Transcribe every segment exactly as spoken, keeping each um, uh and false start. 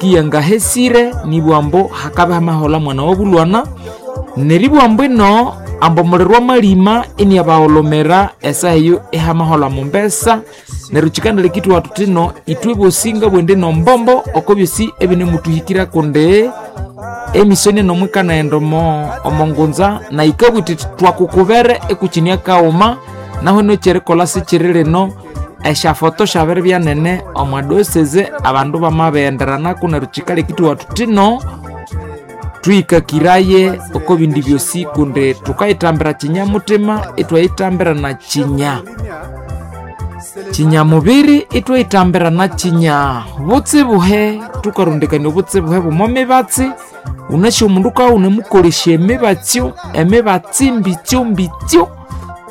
Kiyangahesire nibwambo hakabe hamahola mwana wobulwana neribwambo ino ambo omuliro wamalima iniabaholomera esaha eyo ihamahola mombesa. Neryo kyikanaleka ithwathu thino ithwe bosi ngabwende nombombo oko byosi ebinemutuhikira kundi emisoni eno mwikanaghenda omo omongunza na yikabugha ithi twakukubere ekukinia kaghuma. Nahu ino ekyerikolha sikyiri lino, esyafoto syabiribya nene omwa diocese abandu bamabighenderanaku neryo kyikaleka ithwathu thino twiyikakiraye oko bindi byosi kundi thukayithambira kinyamuthima ithwayithambira na kinya kinyamubiri ithwayithambira na kinya butsibuhe. Thukarondekania obutsibuhe bw'omo mibatsi. Wunasi omundu wukabya wunemukolesya emibatsyo emibatsi mbitsyo mbitsyo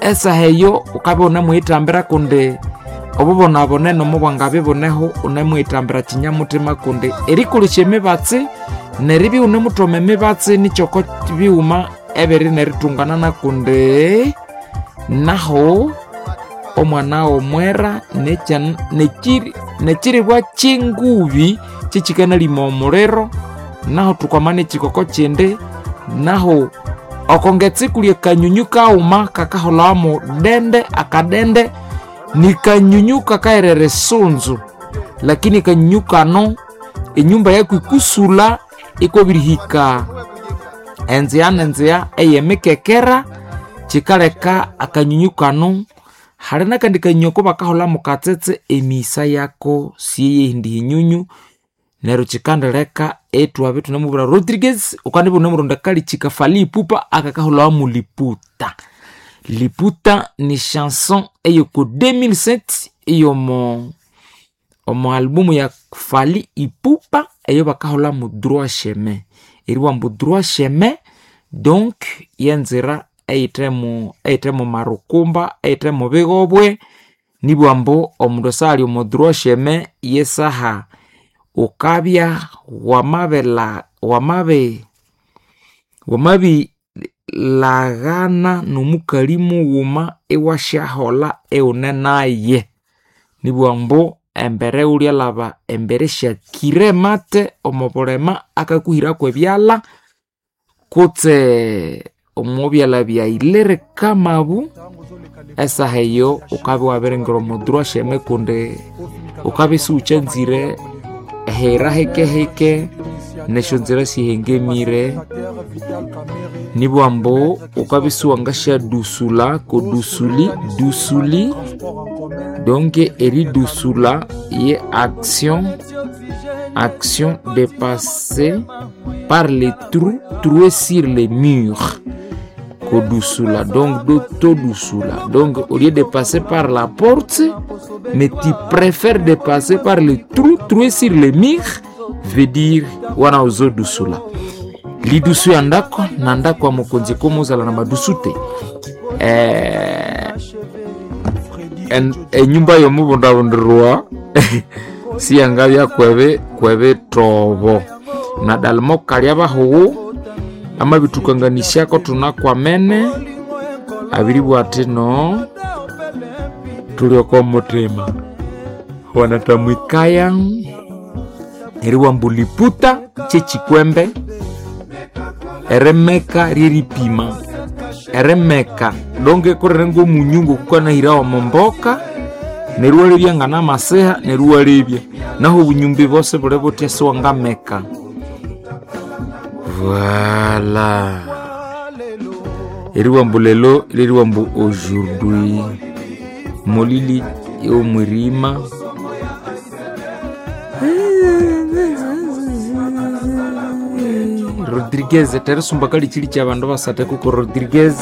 esaha eyo wukabya wunemuyithambira kundi obubonabone nomubwangabya ibuneho wunemuyithambira kinyamuthima kundi erikolesya emibatsi neribya wunemuthoma emibatsi nikyoko bighuma ebiri nerithunganana kundi nahu omwana w'omwera nekyiribwa ky'engubi kyekikanalima omuliro. Nahu thukwama n'ekikoko kindi nahu okongetse kuli akanyunyu kaghuma kakaholhawa mudende akadende nikanyunyu kakaherera esunzu, lakini akanyunyu kano enyumba yaku ikusulha ikwabirihika enzigha n'enzigha ey'emikekera. Kyikaleka akanyunyu kano hali n'akandi kanyunyu ako bakaholha mukatsetse emisa yako siyeyindi hinyunyu. Neryo kyikandileka ithwabya ithunamubwira Rodriguez wukandibya wunemuronda akalikyika Fally Ipupa akakaholhawa mu liputa. Liputa ni chanson eyoko deux mille sept eyomo omo albumu ya Fally Ipupa eyo bakaholha mu droit chemin. Eribugha ambu droit chemin donc yenzira eyithemu eyithemu marukumba eyithemu bigobwe. Nibugha ambu omundu esaha ali omo droit chemin yesaha wukabya wamabila wamabi wamabilaghana n'omukali mughuma iwasyaholha iwune naye. Nibugha ambu embere ghulyalhaba embere syakire mate omo bulema akakuhiraku ebyalha kutse omo byalha byaghilire kamabu. Esaha eyo wukabya iwabiringira omo droit chemin kundi wukabya isiwukyanzire ehira hikehike nesyonzira sihengemire. Nibugha ambu wukabya isiwangasyadusula kodusuli dusuli donc eridusula ye action action de passer par les trous troués sur les murs kodusula donc todusula donc au lieu de passer par la porte mais tu préfères de passer par les trous troués sur les murs veut dire wana ozodusula lidusu ya ndako na ndako ya mokonzi ekomozala na madusu te. Eh, en, enyumba yomubundabundirwa siyangabya kwebe kwebitobo na dalimo kalya bahugu amabithukanganisyako thunakwamene abiribwa athi no tuli oko muthima wanatamwikaya eribugha ambu liputa kyekikwembe erimeka lyeripima erimeka donge kurire ng'omunyu ng'okukanahirawa omo mboka neryo iwalebya nganamasiha neryo iwalebya nahu obunyumbi bosi buli buthya siwangameka. Voilà, eribugha ambu lelo lyeribugha ambu aujourd'hui molili omwirima. Rodriguez terisumba kalikyili kyabandu basathu kuko Rodriguez.